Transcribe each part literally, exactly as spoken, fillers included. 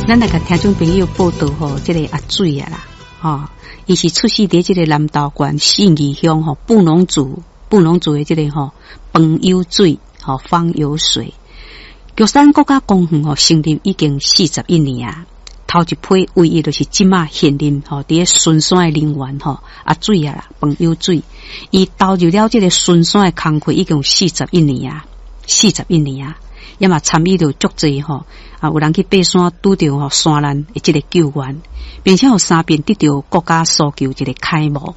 咱來共聽眾朋友報道吼，這個阿水啊啦，吼，伊是出世佇這個南投縣信義鄉吼布農族布農族的這個吼朋友水吼方有水。玉山國家公園吼成立已經四十一年啊，頭一批唯一就是這馬現任吼佇咧巡山的人員吼阿水啊啦，朋友水，伊投入了這個巡山的工課已經有四十一年啊，四十一年啊。也嘛參與著足濟吼，啊有人去爬山拄著吼山難的這個救援，並且有三遍得著國家搜救一個楷模。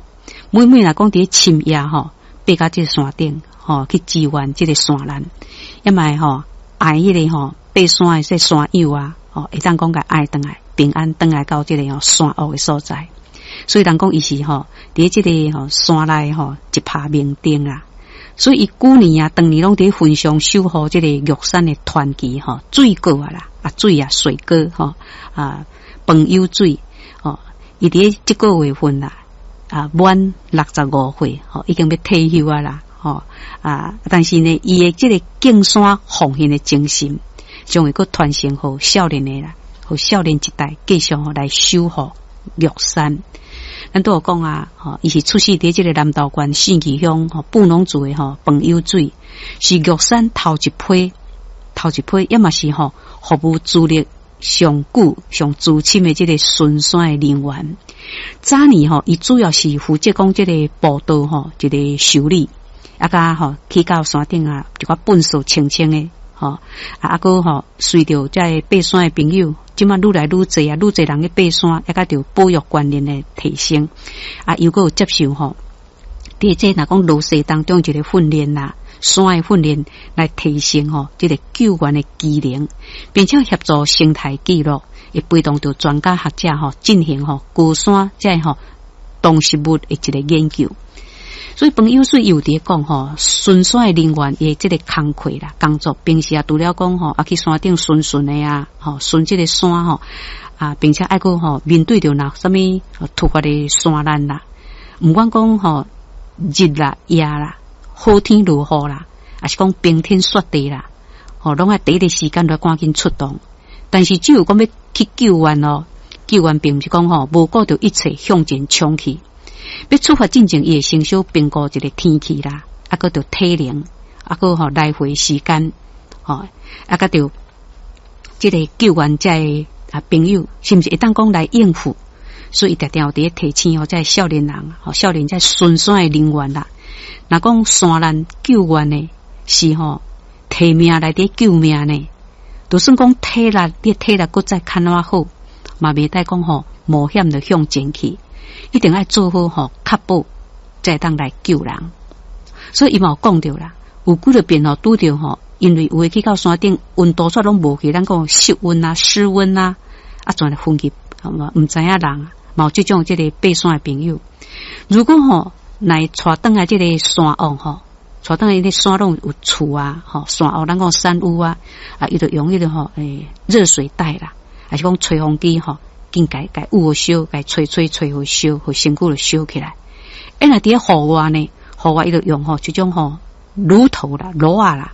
每每若講佇咧深夜吼，爬到這個山頂吼去支援這個山難，也嘛會吼愛彼個吼爬山的這山友啊，吼會當講共愛轉來平安轉來到這個吼山屋的所在。所以人講伊是吼佇咧這個吼山內吼一拍明燈啊。所以伊舊年啊，當年攏佇分上守護這個玉山的傳奇吼，水哥啊啦，啊水啊水哥吼啊朋友水吼，伊佇咧這個月份啦啊滿六十五歲吼，已經欲退休啊啦吼啊，但是呢，伊的這個敬山奉獻的精神，將會閣傳承予少年的啦，予少年一代繼續吼來守護玉山。咱拄有講啊，吼，伊是出世佇這個南投縣信義鄉吼布農族的吼朋友水，是玉山頭一批，頭一批，也嘛是吼服務資歷上久、上資深的這個巡山的人員。早年吼，伊主要是負責講這個步道吼一個修理，啊佮吼去到山頂啊，一寡糞掃清清的吼，啊啊閣吼隨著這個爬山的朋友。這馬愈來愈濟啊，愈濟人去爬山，也佮著保育觀念的提升，啊，又閣有接受吼，佇這若講落雪當中一個訓練啦，山的訓練來提升吼這個救援的技能，並且協助生態記錄，會陪同著專家學者吼進行吼高山這吼動植物的一個研究。所以朋友水有佇咧講吼，巡山的人員伊的這個工課啦，工作平時啊，除了講吼啊去山頂巡巡的啊，吼巡這個山吼啊，並且愛閣吼面對著若啥物突發的山難啦，毋管講吼日啦夜啦，好天落雨啦，抑是講冰天雪地啦，吼攏愛第一個時間來趕緊出動。但是只有講欲去救援哦，救援並毋是講吼無顧著一切向前衝去。欲出發進前，伊會先小評估一個天氣啦，啊，閣著體能，啊，閣吼來回時間，吼，啊，閣著這個救援這个啊朋友，是毋是會當講來應付？所以伊定定有佇咧提醒吼，這少年人，吼少年這巡山的人員啦，若講山難救援的是吼提命來佇救命呢，就算講體力，你體力閣再較怎好，嘛袂使講吼冒險就向前去。一定愛做好吼，確保才會當來救人。所以伊嘛有講著啦，有幾若遍吼拄著吼，因為有的去到山頂溫度煞攏無去，咱講室溫啊、室溫啊，啊，全來昏去，好嘛？毋知影人，嘛有這種這個爬山的朋友。如果吼來帶轉來這個山屋吼，帶轉來那山攏有厝啊，吼山屋，咱講山屋啊，啊，伊就用彼個吼，欸，熱水袋啦，抑是講吹風機吼。緊共共捂燒，共吹吹吹予燒，予身軀就燒起來。欸，若佇咧戶外呢，戶外伊就用吼這種吼爐頭啦、爐仔啦，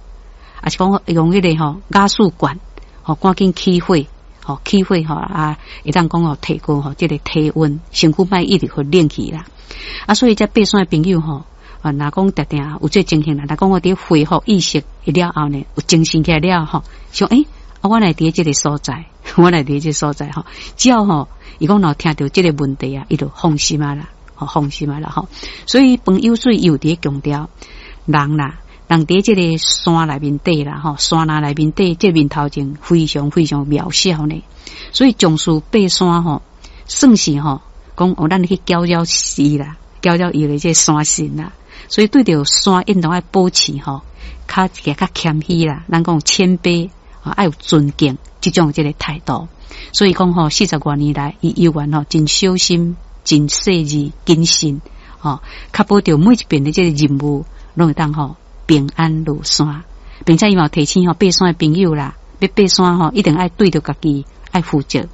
抑是講用彼個吼瓦斯罐，吼趕緊起火，吼起火吼啊，會當講吼提高吼這個體溫，身軀莫一直予冷去啦。啊，所以這爬山的朋友吼，啊，若講定定有這情形啦，若講我佇恢復意識了後呢，有精神起來了後，想欸，啊，我來佇這個所在。我來佇這所在吼，只要吼，伊講若聽著這個問題啊，伊就放心啊啦，吼放心啊啦吼。所以朋友水有佇咧強調人啦，人佇這個山內面底啦，吼山林內面底，這面頭前非常非常渺小呢。所以重視爬山吼，算是吼講哦，咱去攪擾伊啦，攪擾伊的這個山神啦。所以對著山應當愛保持吼，較較謙虛啦，咱講謙卑，愛有尊敬這種這個態度。所以講吼，四十外年來，伊猶原吼真小心、真細緻、謹慎，吼，確保著每一遍的這個任務，攏會當吼平安落山，並且伊嘛提醒吼爬山的朋友啦，欲爬山吼，一定愛對著家己愛負責。